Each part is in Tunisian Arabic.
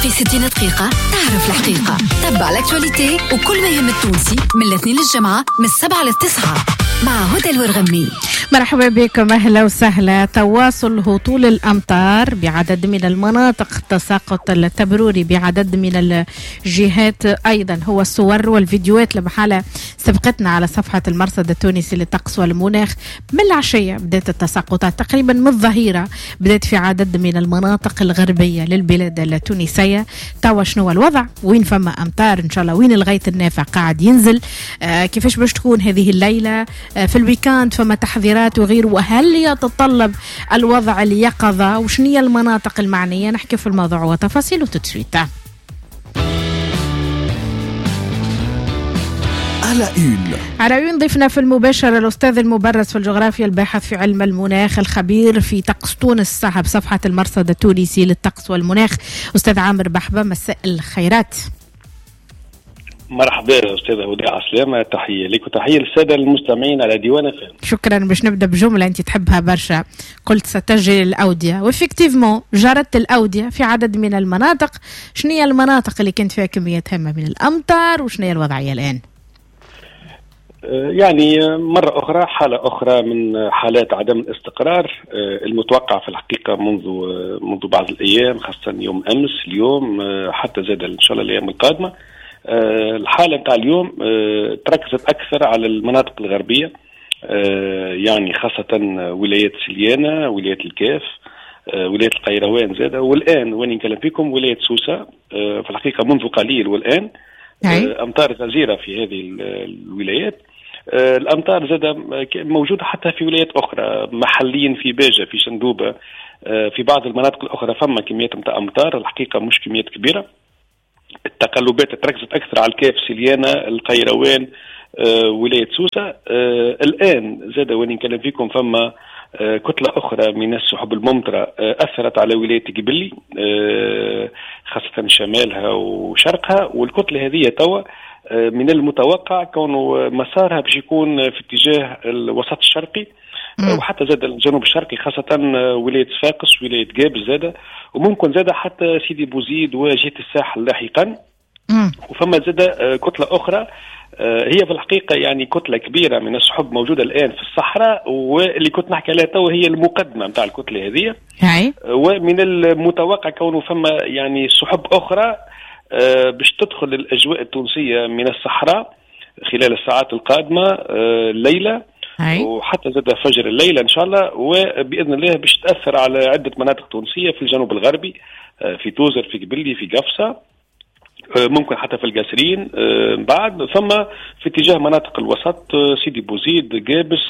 في 60 دقيقة تعرف الحقيقة. تبع l'actualité وكل ما يهم التونسي من الاثنين للجمعة من 7 ل 9 مع هدى الورغمي. مرحبا بكم، أهلا وسهلا. تواصل هطول الأمطار بعدد من المناطق، تساقط التبروري بعدد من الجهات أيضا، هو الصور والفيديوهات لمحالة سبقتنا على صفحة المرصد التونسي للطقس والمناخ. من العشية بدأت التساقطات، تقريبا من الظهيرة بدأت في عدد من المناطق الغربية للبلاد التونسية. توا شنو الوضع؟ وين فما أمطار إن شاء الله؟ وين الغيث النافع قاعد ينزل؟ كيفاش باش تكون هذه الليلة؟ في ال week-end فما تحذيرات وغيره، وهل يتطلب الوضع اليقظة؟ وشنية المناطق المعنية؟ نحكي في الموضوع وتفاصيله tout de suite. على une ضيفنا في المباشر الأستاذ المبرز في الجغرافيا، الباحث في علم المناخ، الخبير في طقس تونس، صاحب صفحة المرصد التونسي للطقس والمناخ، أستاذ عامر بحبة. مساء الخيرات. مرحبا أستاذة هدى، عسلامة، تحية لك وتحية للسادة المستمعين على ديوان FM. شكرا. باش نبدأ بجملة أنت تحبها برشا، قلت ستجري الأودية، و effectivement جرت الأودية في عدد من المناطق. شنو هي المناطق اللي كانت فيها كميات هامة من الأمطار وشنو هي الوضعية الآن؟ يعني مرة أخرى حالة أخرى من حالات عدم الاستقرار المتوقع في الحقيقة منذ بعض الأيام، خاصة يوم أمس، اليوم، حتى زاد إن شاء الله الأيام القادمة. الحالة نتاع اليوم تركزت أكثر على المناطق الغربية، يعني خاصة ولاية سليانة، ولاية الكاف، ولاية القيروان زادة، والآن وين نكلم فيكم ولاية سوسة. في الحقيقة منذ قليل والآن أمطار غزيرة في هذه الولايات. الأمطار زادة موجودة حتى في ولايات أخرى، محليا في باجة، في شندوبة، في بعض المناطق الأخرى فما كميات نتاع أمطار، الحقيقة مش كميات كبيرة. التقلبات تركزت أكثر على الكاف، سليانة، القيروان، ولاية سوسة. الآن زاد وين نكلم فيكم فما كتلة أخرى من السحب الممطرة أثرت على ولاية قبلي، خاصة شمالها وشرقها، والكتلة هذه توا من المتوقع كونه مسارها باش يكون في اتجاه الوسط الشرقي وحتى زاد الجنوب الشرقي، خاصة ولاية صفاقس، ولاية قابس زادة، وممكن زادة حتى سيدي بوزيد وجهة الساحل لاحقا. وفما زادة كتلة أخرى هي في الحقيقة يعني كتلة كبيرة من السحب موجودة الآن في الصحراء، واللي كنت نحكي عليها تو هي المقدمة نتاع الكتلة هذه. ومن المتوقع كونه فما يعني سحب أخرى باش تدخل الأجواء التونسية من الصحراء خلال الساعات القادمة، الليلة وحتى زاد فجر الليلة إن شاء الله، وبإذن الله باش تأثر على عدة مناطق تونسية في الجنوب الغربي، في توزر، في قبلي، في قفصة، ممكن حتى في القاسرين بعد، ثم في اتجاه مناطق الوسط، سيدي بوزيد، قابس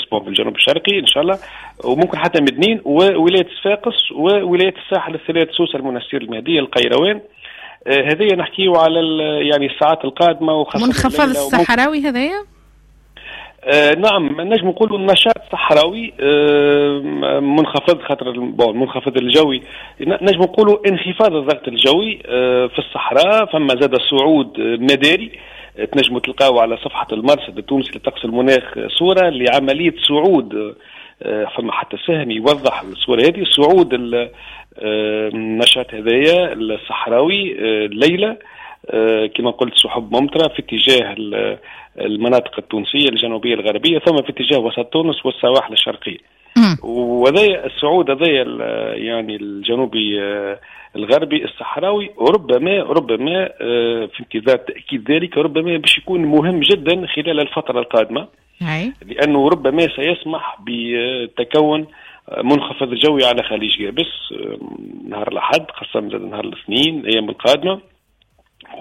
في الجنوب الشرقي إن شاء الله، وممكن حتى مدنين وولاية صفاقس وولاية الساحل الثلاث، سوسة، المنستير، المهدية، القيروان. هذه نحكيه على يعني الساعات القادمة، وخاصة منخفض الصحراوي هذايا. نعم، نجم نقولوا النشاط صحراوي منخفض، خاطر المنخفض الجوي نجم نقولوا انخفاض الضغط الجوي في الصحراء، فما زاد صعود مداري. تنجموا تلقاو على صفحة المرصد التونسي للطقس المناخ صورة لعملية صعود، فما حتى سهم يوضح الصورة هذه، صعود النشاط هذايا الصحراوي الليلة، كما قلت سحب ممطرة في اتجاه المناطق التونسية الجنوبية الغربية، ثم في اتجاه وسط تونس والسواحل الشرقية. وهذا الصعود هذا يعني الجنوبي الغربي الصحراوي ربما في انتظار تأكيد ذلك، ربما باش يكون مهم جدا خلال الفترة القادمة، لأنه ربما سيسمح بتكون منخفض جوي على خليج قابس نهار الأحد، خاصة نهار الاثنين الأيام القادمة.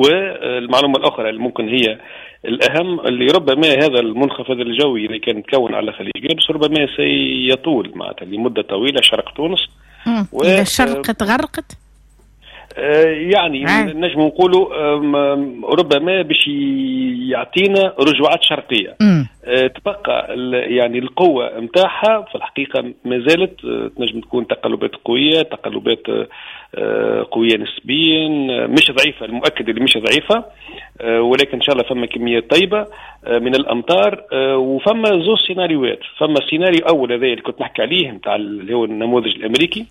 والمعلومة الأخرى اللي ممكن هي الأهم، اللي ربما هذا المنخفض الجوي اللي كان تكون على خليج قابس ربما سيطول معناتها لمدة طويلة شرق تونس. إذا الشرق تغرقت؟ يعني نجم نقولوا ربما باش يعطينا رجوعات شرقية. تبقى يعني القوة نتاعها في الحقيقة ما زالت تنجم تكون تقلبات قوية، تقلبات قوية نسبيا، مش ضعيفة، المؤكد اللي مش ضعيفة، ولكن إن شاء الله فما كمية طيبة من الأمطار. وفما زوج سيناريوهات، فما سيناريو أول هذا اللي كنت نحكي عليه نتاع اللي هو النموذج الأمريكي.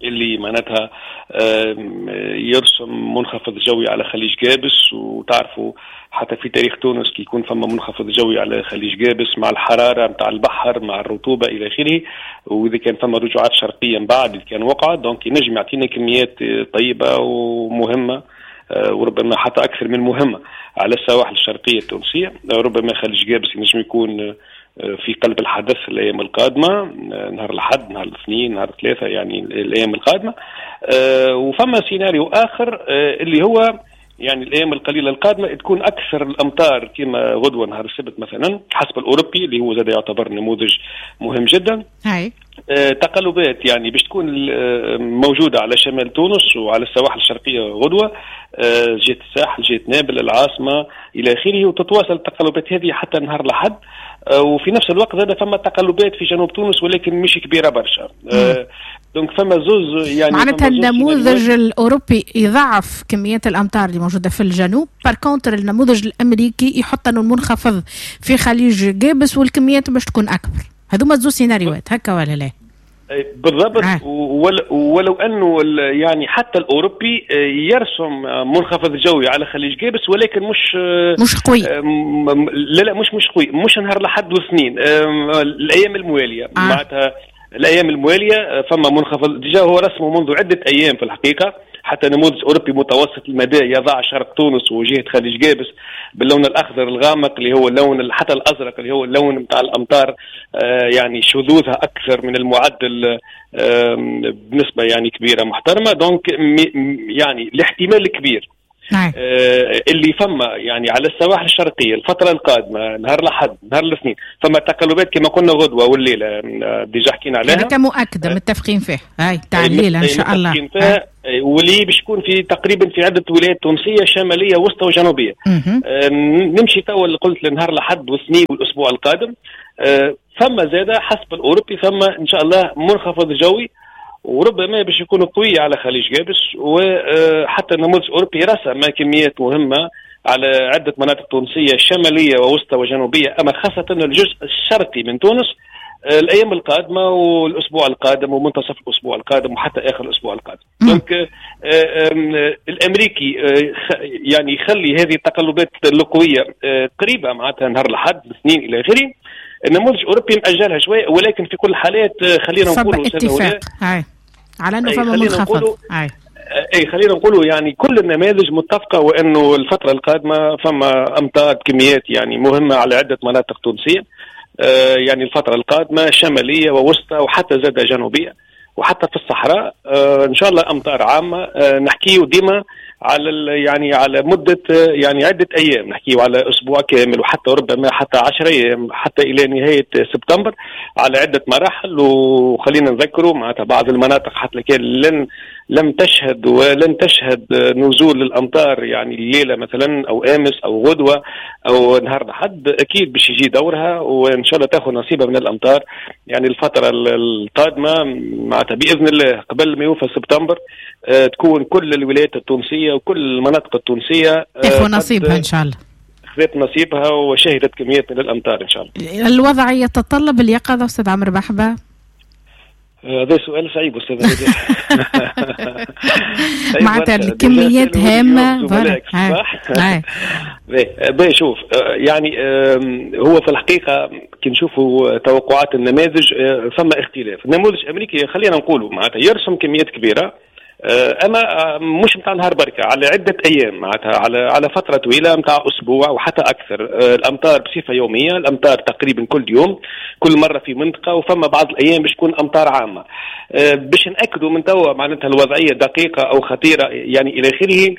اللي معناتها يرسم منخفض جوي على خليج جابس، وتعرفوا حتى في تاريخ تونس كي يكون فما منخفض جوي على خليج جابس مع الحرارة متاع البحر مع الرطوبة إلى آخره، وإذا كان فما رجوعات شرقية من بعد اللي كان وقع، donc ينجم يعطينا كميات طيبة ومهمة وربما حتى أكثر من مهمة على السواحل الشرقية التونسية. ربما خليج جابس ينجم يكون في قلب الحدث الأيام القادمة، نهار الأحد، نهار الاثنين، نهار الثلاثاء، يعني الأيام القادمة. وفما سيناريو آخر اللي هو يعني الأيام القليلة القادمة تكون أكثر الأمطار كما غدوة نهار السبت مثلا حسب الأوروبي اللي هو زاد يعتبر نموذج مهم جدا. هاي. تقلبات يعني باش تكون موجودة على شمال تونس وعلى السواحل الشرقية غدوة، جهة الساحل، جهة نابل، العاصمة إلى آخره، وتتواصل التقلبات هذه حتى نهار الأحد. وفي نفس الوقت هذا فما تقلبات في جنوب تونس ولكن مش كبيرة برشا. donc فما زوز يعني معناتها النموذج الأوروبي يضعف كميات الأمطار اللي موجودة في الجنوب، par contre النموذج الأمريكي يحط أنه المنخفض في خليج جابس والكميات باش تكون أكبر. هذوما زوز سيناريوهات هكا ولا لا؟ بالضبط. ولو انه يعني حتى الاوروبي يرسم منخفض جوي على خليج جابس ولكن مش قوي. لا مش قوي، مش نهار الاحد والاثنين، الايام الموالية. معناتها الايام الموالية فما منخفض déjà هو رسمه منذ عده ايام في الحقيقة، حتى نموذج أوروبي متوسط المدى يضع شرق تونس وجهة خليج جابس باللون الأخضر الغامق اللي هو اللون حتى الأزرق اللي هو اللون متاع الأمطار، يعني شذوذها أكثر من المعدل بنسبة يعني كبيرة محترمة. donc يعني الاحتمال الكبير اللي فما يعني على السواحل الشرقية الفترة القادمة نهار الأحد نهار الاثنين فما تقلبات كما قلنا غدوة والليلة déjà حكينا عليها، هذا مؤكدة متفقين فيه، هاي تاع الليلة إن شاء الله، واللي باش يكون في تقريبا في عدة ولايات تونسية شمالية وسطى وجنوبية. نمشي توا اللي قلت لنهار الأحد والاثنين والأسبوع القادم. فما زادة حسب الأوروبي فما إن شاء الله منخفض جوي وربما باش يكون قوي على خليج جابس، وحتى النموذج الأوروبي رسم كميات مهمة على عدة مناطق تونسية شمالية ووسطى وجنوبية، أما خاصة الجزء الشرقي من تونس الأيام القادمة والأسبوع القادم ومنتصف الأسبوع القادم وحتى آخر الأسبوع القادم. donc الأمريكي يعني يخلي هذه التقلبات القوية قريبة معناتها نهار الأحد الاثنين إلى آخره. النموذج الأوروبي مأجلها شوية، ولكن في كل الحالات خلينا نقولوا اتفاق على أنه فما منخفض. اي خلينا نقولوا يعني كل النماذج متفقه وانه الفترة القادمة فما امطار بكميات يعني مهمة على عده مناطق تونسية، يعني الفترة القادمة شمالية ووسطى وحتى زاد جنوبيه وحتى في الصحراء، ان شاء الله امطار عامة. نحكيه ديما على يعني على مده يعني عده ايام، نحكيه على اسبوع كامل وحتى ربما حتى 10 ايام حتى الى نهاية سبتمبر على عده مراحل. وخلينا نذكروا معناتها بعض المناطق حتى كان لم تشهد ولن تشهد نزول الامطار يعني الليلة مثلا او امس او غدوه او نهار الاحد، اكيد باش يجي دورها وان شاء الله تاخذ نصيبها من الامطار يعني الفترة القادمة معناتها باذن الله قبل ما يوفى سبتمبر تكون كل الولايات التونسية وكل المناطق التونسية تاخذ نصيبها ان شاء الله، خذت نصيبها وشهدت كميات من الامطار ان شاء الله. الوضع يتطلب اليقظة استاذ عمرو بحبه؟ هذا سؤال صعيب استاذ. معناتها الكميات هامة صح؟ باهي شوف يعني هو في الحقيقة كي نشوفوا توقعات النماذج فما اختلاف. النموذج الامريكي خلينا نقولوا معناتها يرسم كميات كبيرة، اما مش متاع نهار بركة، على عده ايام معناتها على فترة طويلة متاع اسبوع وحتى اكثر. الامطار بصفة يومية، الامطار تقريبا كل يوم، كل مرة في منطقة، وفما بعض الايام باش تكون امطار عامة. باش ناكدوا من توا معناتها الوضعية دقيقة او خطيرة يعني الى اخره.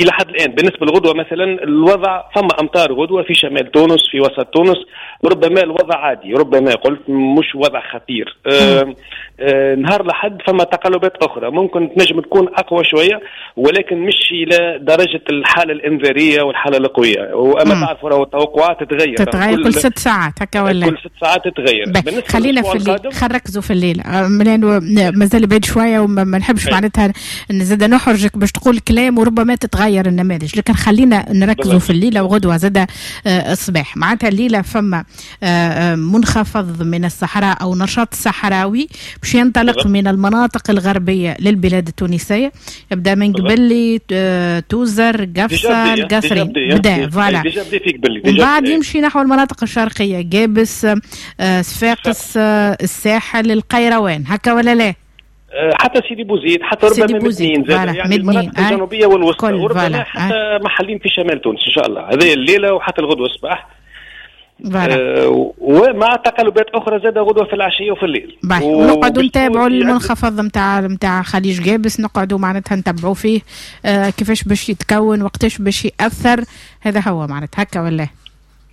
الى حد الان بالنسبة للغدوه مثلا الوضع فما امطار غدوه في شمال تونس، في وسط تونس، ربما الوضع عادي، ربما قلت مش وضع خطير. نهار لحد فما تقلبات اخرى ممكن تنجم تكون اقوى شوية، ولكن مش الى درجه الحالة الانذاريه والحالة القوية. واما تعرفوا راهو التوقعات تتغير كل 6 ساعات هكا ولا كل 6 ساعات تتغير. خلينا في الليل، خلينا نركزوا في الليل لانه مازال بعيد شوية وما نحبش معناتها نزيد نحرجك باش تقول كلام وربما تتغير النماذج، لكن خلينا نركزوا في الليلة وغدوه زاد الصباح. معناتها الليلة فما منخفض من الصحراء او نشاط صحراوي باش باش ينطلق من المناطق الغربية للبلاد التونسية، يبدا من قبلي توزر قفصه القصرين، بدا voilà، ومن بعد يمشي نحو المناطق الشرقية، قابس، صفاقس، الساحل، القيروان، هكا ولا لا؟ حتى سيدي بوزيد، حتى ربما مدنين زاد، يعني المناطق الجنوبية والوسطى، وربما حتى محلين في شمال تونس ان شاء الله، هذه الليلة وحتى الغدوه الصباح. ومع تقلبات اخرى زاد غدوه في العشية وفي الليل. ونقعدوا نتابعوا المنخفض نتاع خليج قابس، نقعدوا معناتها نتبعوا فيه كيفاش باش يتكون، وقتاش باش ياثر، هذا هو معناتها هكا ولا؟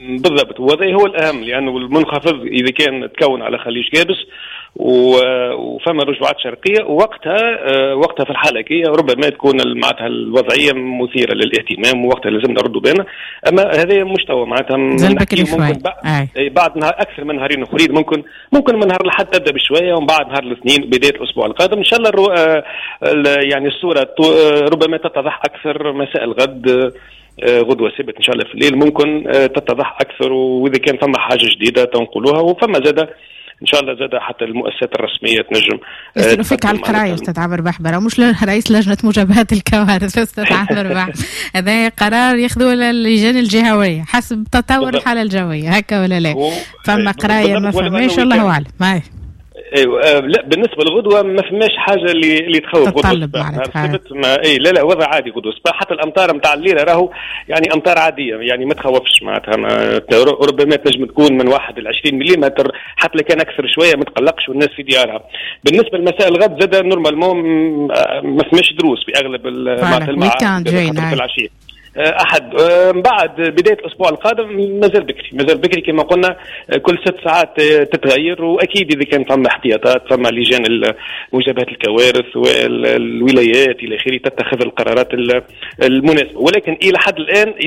بالضبط، وهذا هو الاهم، لانه المنخفض اذا كان تكون على خليج قابس وفما رجوعات شرقية، وقتها في الحالة كي ربما تكون معناتها الوضعية مثيرة للاهتمام، ووقتها لازم نردوا بالنا. اما هذا مش توا معناتها ممكن بعد نهار، اكثر من نهارين اخرين، ممكن من نهار الاحد تبدا بشوية، ومن بعد نهار الاثنين بداية الاسبوع القادم ان شاء الله يعني الصورة ربما تتضح اكثر مساء الغد، غدوه سبت ان شاء الله في الليل ممكن تتضح اكثر، واذا كان فما حاجة جديدة تنقلوها، وفما زاده ان شاء الله زاد حتى المؤسسات الرسمية تنجم. يسألوا فيك على القراية استاذ عامر بحبره، مش رئيس لجنة مجابهة الكوارث استاذ عامر بحبره، هذا قرار ياخذوه اللجان الجهوية حسب تطور الحالة الجوية، هكا ولا لا؟ فما قرايه ما فماش، الله اعلم. ايوه لا، بالنسبة للغدوه ما فماش حاجة اللي تخوف غدوه السبت، ما اي لا وضع عادي غدوه الصباح، حتى الامطار نتاع الليلة راهو يعني امطار عادية، يعني ما تخوفش معناتها، ربما تنجم تكون من 1 ل 20 ملم، حتى لو كان اكثر شوية ما تقلقش والناس في ديارها. بالنسبة لمساء الغد زاد normalement ما فماش دروس في اغلب معناتها المعاهد في العشية احد. من بعد بداية الاسبوع القادم مازال بكري، مازال بكري كما قلنا، كل 6 ساعات تتغير، واكيد اذا كان فما احتياطات، فما لجان مجابهة الكوارث والولايات الى اخره تتخذ القرارات المناسبة، ولكن الى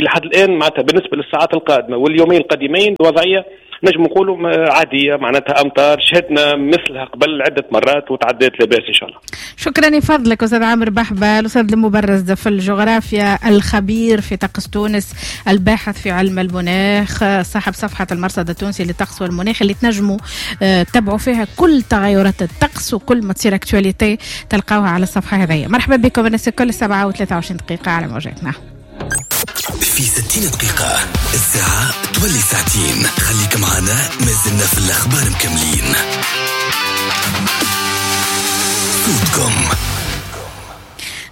حد الان معناتها بالنسبة للساعات القادمة واليومين القادمين الوضعية نجم نقولوا عادية، معناتها أمطار شهدنا مثلها قبل عدة مرات وتعدات لاباس إن شاء الله. شكرا لفضلك أستاذ عامر بحبة، الأستاذ المبرز في الجغرافيا، الخبير في طقس تونس، الباحث في علم المناخ، صاحب صفحة المرصد التونسي للطقس والمناخ اللي تنجموا تتبعوا فيها كل تغيرات الطقس وكل ما تصير actualité تلقاوها على الصفحة هذه. مرحبا بكم الناس الكل، 7:23 على موجاتنا. في 60 دقيقة الساعة تولي ساعتين، خليك معنا مازلنا في الأخبار مكملين. صوتكم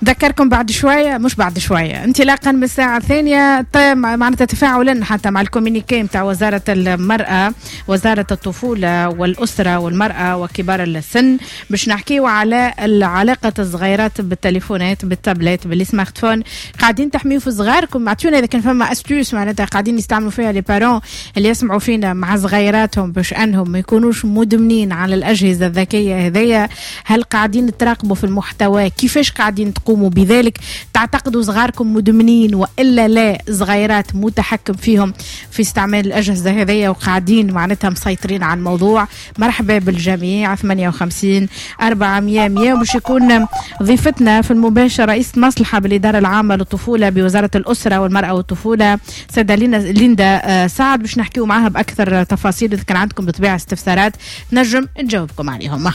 ذكركم بعد شوية، مش بعد شوية، انطلاقا من الساعة 2 معناتها تفاعلا حتى مع ال communiqué متاع وزارة المرأة، وزارة الطفولة والأسرة والمرأة وكبار السن، باش نحكيو على علاقة الصغيرات بالتليفونات، بال tablettes، بال smartphones. قاعدين تحميو في صغاركم؟ اعطونا إذا كان فما astuce معناتها قاعدين يستعملوا فيها les parents اللي يسمعوا فينا مع صغيراتهم باش أنهم ما يكونوش مدمنين على الأجهزة الذكية هذيا. هل قاعدين تراقبوا في المحتوى؟ كيفاش قاعدين تقوموا بذلك؟ تعتقدوا صغاركم مدمنين وإلا لا؟ صغيرات متحكم فيهم في استعمال الأجهزة هذية وقاعدين معناتها مسيطرين على الموضوع؟ مرحبا بالجميع. 58 400 100. باش يكون ضيفتنا في المباشر رئيس مصلحة بالإدارة العامة للطفولة بوزارة الأسرة والمرأة والطفولة سيدة ليندا سعد، باش نحكيو معها بأكثر تفاصيل. إذا كان عندكم بطبيعة استفسارات نجم نجاوبكم عليهم.